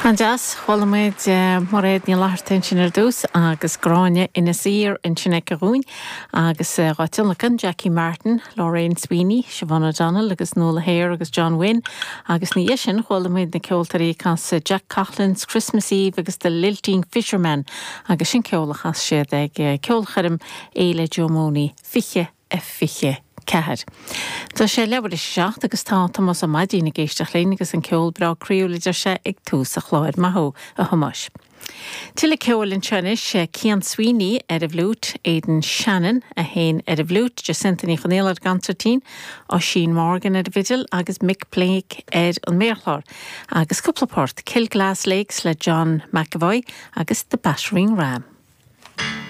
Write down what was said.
An-deas. Chuala muid Mairéad Ní Fhlatharta ansin ar dtús agus Gráinne Inis Oírr ansin aici dhúinn agus dhá tionlacan, Jackie Martin, Lorraine Sweeney, Siobhán O'Donnell agus Nuala Hare agus John Wynne agus ina dhiaidh sin chuala muid na ceoltóirí ag casadh Jack Coughlan's Christmas Eve agus The Lilting Fisherman agus sin ceol a chas siad ag ceolchoirm Fhéile Joe Mooney 20 24. Tá sé leathuair tar éis a 7 agus tá Tomás Ó Maidín ag éisteacht linn agus an ceol breá croíúil a deir sé ag tús an chláir. Maith thú, a Thomáis. Tuilleadh ceoil anseo anois, Cian Sweeney ar an bhfliúit, Aidan Shannon a sheinn ar an bhfliúit, Jacinta Ní Chonaola ar an gconsairtín, Oisín Morgan ar an bhfidil agus Mick Blake ar an méarchlár. Agus cúpla port, Kilglass Lakes le John McEvoy agus The Battering Ram.